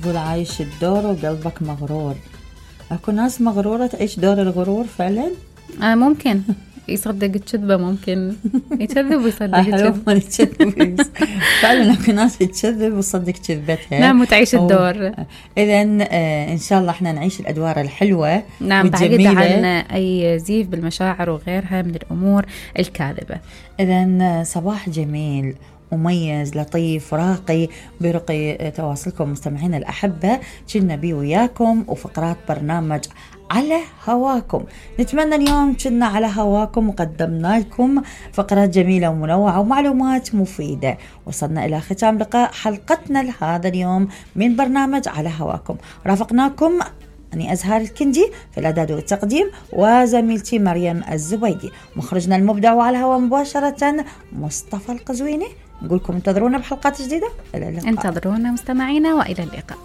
تقول عايش الدور وقلبك مغرور. اكو ناس مغرورة تعيش دور الغرور فعلا. ممكن يصدق الكذبة، ممكن يكذب ويصدق الكذب. فعلا اكو ناس تكذب وتصدق كذبتها. نعم، وتعيش الدور. اذن ان شاء الله احنا نعيش الادوار الحلوة. نعم، بعيد عن اي زيف بالمشاعر وغيرها من الامور الكاذبة. اذن صباح جميل مميز لطيف راقي برقي تواصلكم مستمعين الأحبة. كنا بي وياكم وفقرات برنامج على هواكم. نتمنى اليوم كنا على هواكم وقدمنا لكم فقرات جميلة ومنوعة ومعلومات مفيدة. وصلنا إلى ختام لقاء حلقتنا لهذا اليوم من برنامج على هواكم. رافقناكم أني أزهار الكندي في الإعداد والتقديم، وزميلتي مريم الزبيدي، مخرجنا المبدع وعلى الهواء مباشرة مصطفى القزويني. نقولكم انتظرونا بحلقات جديدة. إلى اللقاء. انتظرونا مستمعينا وإلى اللقاء.